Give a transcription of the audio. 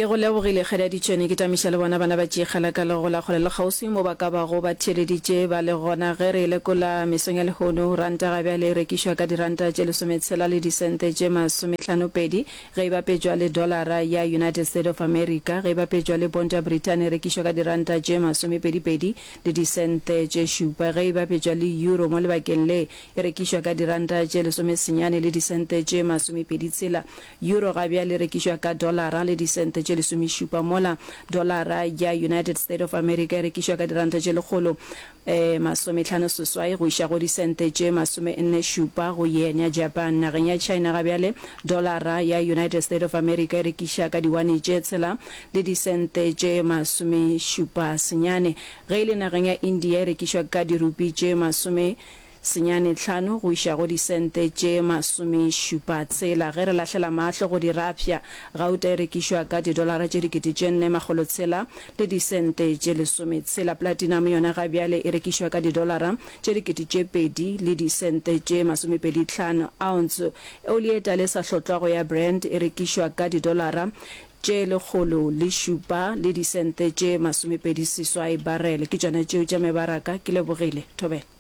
Ke go lebogile Kgadi Ditšhwene, ke tamiša le bona bana ba Tšeekgala ka legola kgole le kgauswi mo ba ka bago ba theeleditše ba le gona ge re e lekola mesong ya lehono. Ranta ga bjale e rekišwa ka diranta tše lesometshela le disente tše masometlhanopedi ge e bapetšwa le dolara ya United State of America. Ge e bapetšwa le ponto ya Brithani e rekišwa ka diranta tše masomepedipedi le disente tše šupa. Ge e bapetšwa le euro mo lebakeng le e rekišwa ka diranta tše lesomesenyane le disente tše masomepeditshela. Euro ga bjale e rekišwa ka dolara le disente tše lesomešupa, mola dolara ya United State of America e rekišwa ka diranta tše lekgolo masometlhano seswai go iša go disente tše masomenne šupa go yen ya Japan. Nageng ya China ga bjale dolara ya United State of America e rekiša ka diwane tše tshela le disente tše masomešupa senyane. Ge e le nageng ya India e rekišwa ka dirupi tše masome Senyane tlhano go iša go disente tše masomešupa tshela. Ge re lahlela mahlo go dirafša, gauta e rekišwa ka didolara tše 4000 makgolotshela le disente tše lesometshela. Platinum yona ga bjale e rekišwa ka didolara tše 2000 le disente tše masomepeditlhano. Ounce oli e tala e sa hlotlwago ya Brent e rekišwa ka didolara tše 107 le disente tše masomepediseswai barele. Ke tšona tšeo tša mebaraka. Ke lebogile. Thobela.